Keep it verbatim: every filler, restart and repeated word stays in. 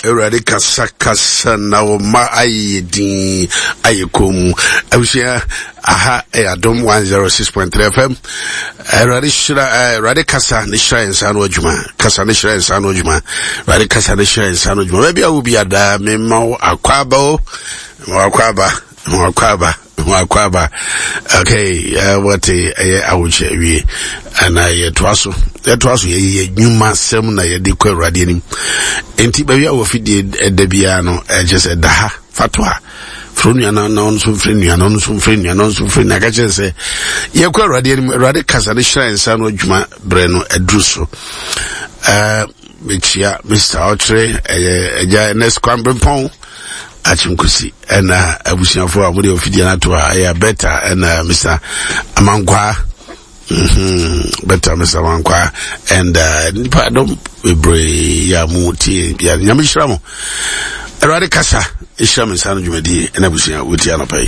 Awurade kasa kasa na wo ma ayɛ din ayɛ komm. Abusua, aha ɛyɛ Adom one oh six point three F M. Awurade hyira, Awurade kasa ne hyira yɛn nsa no adwuma. Kasa ne hyira yɛn nsa no adwuma. Awurade kasa ne hyira yɛn nsa no adwuma. Baabi a wo bi adaa, mema wo akwaaba o. Ma wo akwaaba, ma wo akwaaba, ma wo akwaaba. Okay, uh, wɔte ɛyɛ awokyɛ wie ana yɛtoa so, yɛtoa so, yɛyɛ nnwuma sɛm na yɛde kɔ Awurade anim. Nti baabi a wɔfidie ɛda biara no, ɛkyɛ sɛ da ha fato a frɛ nua na na ɔno nso mfrɛ nua na ɔno nso mfrɛ nua na ɔno nso mfrɛ nua, ka kyerɛ sɛ yɛkɔ Awurade anim. Awurade kasa ne hyira yɛn nsa no adwuma berɛ no aduru so. ɛɛ mekyia Mister Ɔkyerɛ, ɛyɛ Agya Ernest Kwambrempɔn Akyemkosi, ɛna abusuafoɔ a mode ɔfidie no ato a ɛyɛ Beta ɛna Mister Amankwaa, mm-hmm. Beta, Mister Amankwaa and uh, nipa dɔm bebree yɛ a mo tie bia. Nyame hyira mo. Awurade kasa ɛhyira me nsa no dwumadie ɛna abusua wɔtie anɔpa yi.